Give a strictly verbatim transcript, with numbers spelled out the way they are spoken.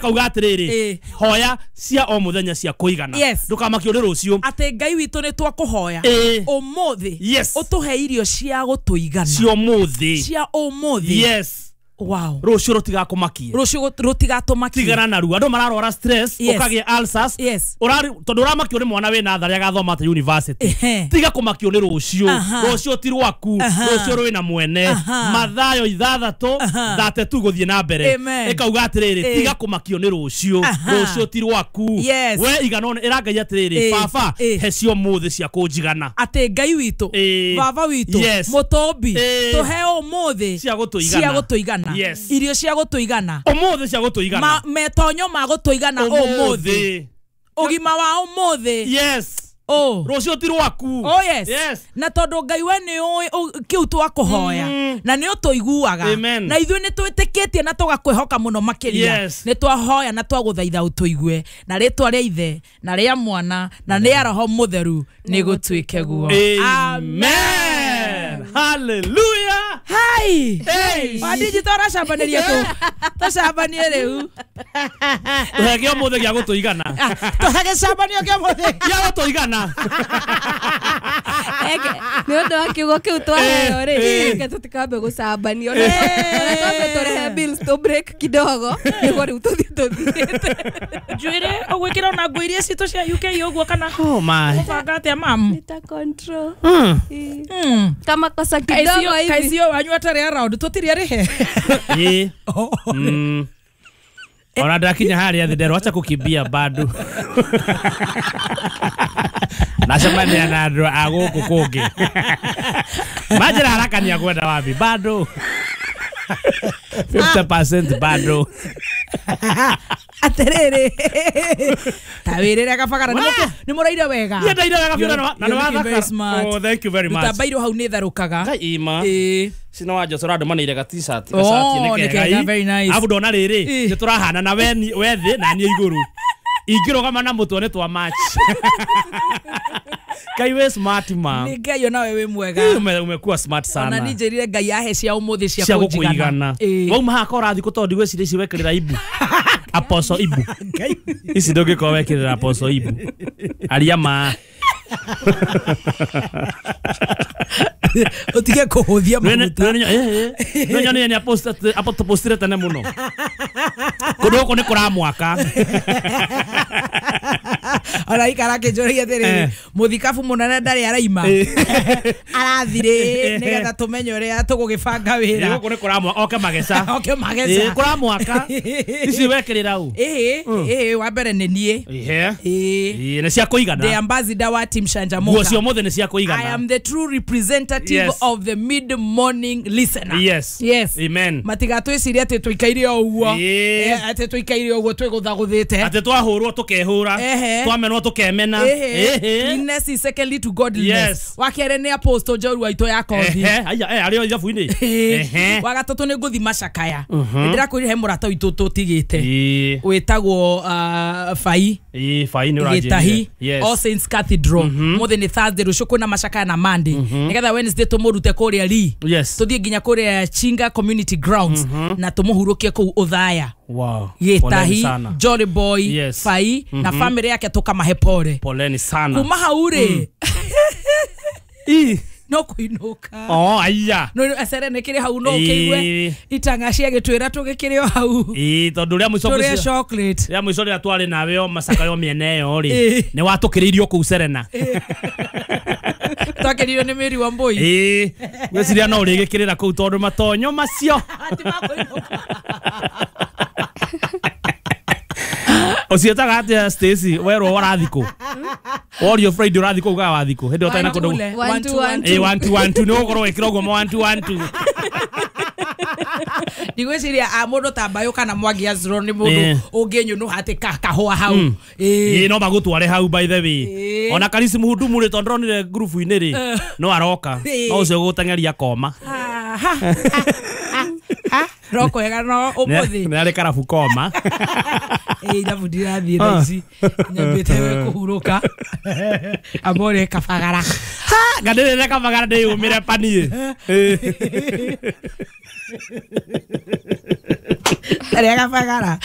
Kauga atiriri hoya cia o muthenya cia kuigana ndukamakio ni rucio ati Ngai witu ni twakuhoya umuthi utuhe irio cia gutuigana cia umuthi cia umuthi. Yes. Wow. Rucio rutigakumakie. Rucio rutigatumakie. Tigana na ruo. Andu mararwara stress, yes. Ukagia ulcers. Yes. Urari tondu uramakio ni mwana wina thari agathoma ta university. Tiga kumakio ni rucio. Rucio ti rwaku. Rucio rwina mwene. Mathayo ithathatu thate guthie na mbere. Ikauga atiriri tiga kumakio ni rucio. Rucio ti rwaku. Yes. We igano ira Ngai atiriri baba he cio muthi cia kunjigana. Ati Ngai witu. Baba witu. Mutombi tuhe umuthi cia gutuigana. Cia gutuigana. Yes. Irio cia gutuigana umuthi cia gutuigana metonyo ma gutuigana umuthi ugima wa umuthi. Yes. Oh. Rucio ti rwaku. Oh yes. Yes. Na tondu Ngai we ni ui kiu twakuhoya na ni utuiguaga na ithuĩ ni twitikitie na tugakwihoka muno makiria. Yes. Ni twahoya na twaguthaitha utuigue na ritwa ria Ithe na ria Mwana na ria Roho Mutheru ni gutuike guo. Amen. Hallelujah. Hai. Hey. Wadiji toracambaniria tu. Tucambanie riu. Tuhege umuthi gia gutuigana. Tuhege cambanio kia umuthi. Gia gutuigana. Eke, ni undu wa kiugo kiu twaheo ri, reke tutikambe gucambanio. Ona twambe turehe bills tu break kidogo niguo riu tuthie tuthiite. Njuire ugwikira ona nguo iria citũ cia U K uguo kana oh my ubanga atia mamu? Nita control. Mm. Mm. Kama kosa kidogo hivi. Kaisio wanyu atari around tutiri arihe. Eh. Mm. Ona ndakinya haria thi ndero acha kukimbia bado. Nacemania na andu a guku kungi. Manjira haraka ni akwenda wapi bado. fifty percent bado. Atiriri. Ta wirire kabagara ni muraire wega. Ni ndaire wega biũ na na wathaka. Oh thank you very much. Rutabairwo hau ni tharukaga. Ngai ima. Eh. Sina wa Josora andu maneire ga t-shirt gacati ni kega. Very nice. Abu ndona riri ni turahana na we we thi na ni iguru. Ingirugama na mutwe ni twa match. Ngai we smart ma. Ni Ngai ona we mwega. Umekuwa smart sana. Ona ni njirire Ngai ahe cia umuthi cia kunjigana. Wauma haka urathi ku tondu gweciria ici wekirira ibu. Apostle ibu. Ici ndungikorwo wekirira apostle ibu. Aria ma. Utige kuhuthia maguta. No nyone ni apostle apostire tene muno. Kundu guku ni kuramwaka. Ona ikara kinjũria atĩrĩrĩ mũthikabu mũnene ndarĩ araima arathire nĩgetha tũmenye ũrĩa tũgũgĩbanga wĩra. Gũkũ nĩ kũramwaka oke mageca. Oke mageca. Kũramwaka. Ici wekĩrĩra ũ? Ĩhĩ ĩhĩ wa mbere nĩ niĩ. Ĩhĩ. Ĩĩ nĩ cia kũigana. The ambassador wa Team Shanjamuka. Nguo cia ũmũthĩ nĩ cia kũigana. I am the true representative yes. of the mid morning listener. Yes. Yes. Amen. Matigatwĩcirie atĩ tũikaire o ũguo. Atĩ tũikaire ũguo twĩgũthagũthĩte. Atĩ twahũrwo tũkehũra. Twamenwo tukemena. Cleanness is secondly to godliness. Yes. Wa kerĩ nĩ apostle Njorua witũ ya kothi. Ehe, aya eh arĩ o ithabu-inĩ. Ehe. Wa gatatũ nĩ ngũthi macakaya. Ndĩrakwĩrire he mũrata witũ tũtigĩte. Wĩtagwo Fai. Ĩĩ Fai nĩ ũranjĩrire. Gĩtahi. All Saints Cathedral. Mũthĩ nĩ Thursday rũciũ kwĩna macakaya na Monday. Nĩgetha Wednesday tũmũrute kũrĩa Lee. Tũthiĩ nginya kũrĩa Chinga Community Grounds na tũmũhurũkie kũu Othaya. Wow. Gĩtahi, Jolly Boy, yes. Fai mm -hmm. na family yake tukamahe pole. Poleni sana. Kuma hau rĩ. Mm. No kuinuka. Oh aya. No acere nĩ kĩrĩ hau no ũkĩigue itanga cia gĩtwĩra tũgĩkĩrĩ o hau. Ĩ tondu rĩa mũico tũrĩa chocolate. Rĩa mũico rĩrĩa twarĩ nawe o macakayo mĩena ĩyo rĩ nĩ watũkĩrĩirio kũu Serena. Twakĩrĩirio nĩ Mary Wambui. Ĩ gwĩciria no ũrĩgĩkĩrĩra kũu tondu matonyo macio. Ucietaga atia Stacy werwo warathi kũ? Worio Friday ũrathi kũ ugaga wathi kũ? Hĩndĩ ĩyo ũtarĩ na kũndũ. one two one two. Ĩ one two one two nĩ ũgũkorwo wĩkĩra ũguo ma one two one two. Ndigwĩciria a mũndũ ta Mbayũ kana Mwangi Azro nĩ mũndũ ũngĩnyũnũha atĩ kahũa hau. Ĩ no magũtware hau by the way. Ona Karisi Mũhudumu rĩ tondũ ndonire ngurubu-inĩ rĩ no aroka. No ũcio ũgũteng'eria koma. Roko hega no umuthi. Nĩ arĩ karabu koma. Ĩ irabu ndirathiĩ thaa ici nyambĩte kũhurũka amore kabagara. Ngandĩrĩre kabagara ndĩyũmĩre paniĩ. Rega bagara.